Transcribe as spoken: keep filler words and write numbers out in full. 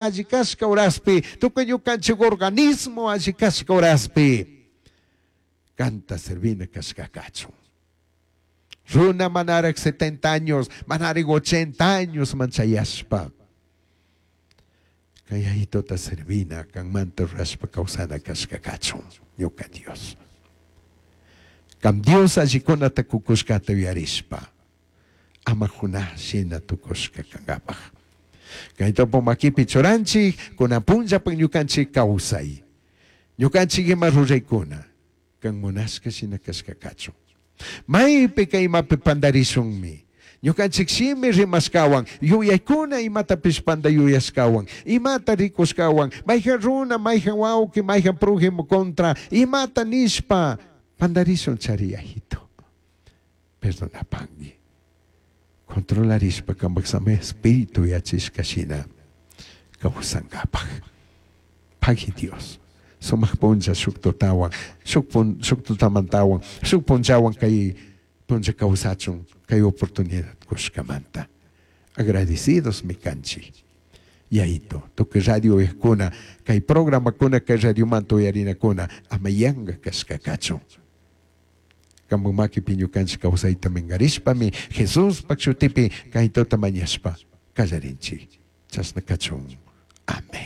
Alli kashka horaspi, tukuy ñukanchik organismo alli kashka horaspi, kanta servina kashka kachun. Runa manaraj setenta años, manaraj ochenta años manchayashpa. Kay Yayituta servina, kanmanta rurashpa kawsana kashka kachun, ñuka Dios. Kam Dios allikunata kukushkata yuyarishpa, ama Jonás shina tukushka kankapaj. Kay topo makipi churanchik, kunan punllapaj ñukanchik kawsay. Ñukanchik ima ruraykuna, kan munashka shina kashka kachun. Maypi kay imapi pandarishunmi. Ñukanchik shimi rimashkawan, yuyaykuna imatapish panda yuyashkawan, imata rikushkawan, mayjan runa, mayjan wawqi, mayjan prójimo contra, imata nishpa pandarishun chari Yayito. Perdonapangui. Controlarishpa kambak sami espíritu yachishka shina kawsankapaj. Pagui Dios. Sumak punlla shuk tutawan, shuk pun, shuk tutamantawan, shuk punllawan kay punlla kawsachun kay oportunidad kushkamanta. Agradecidos mi kanchik. Yayito, tukuy radio uyajkuna, kay programakuna, kay radiomanta uyarinakuna, ama yanka kashka kachun. Kambuk makipi ñukanchik kawsayta minkarishpami, Jesuspak shutipi kay tuta mañashpa kallarinchik. Chashna kachun. Amén.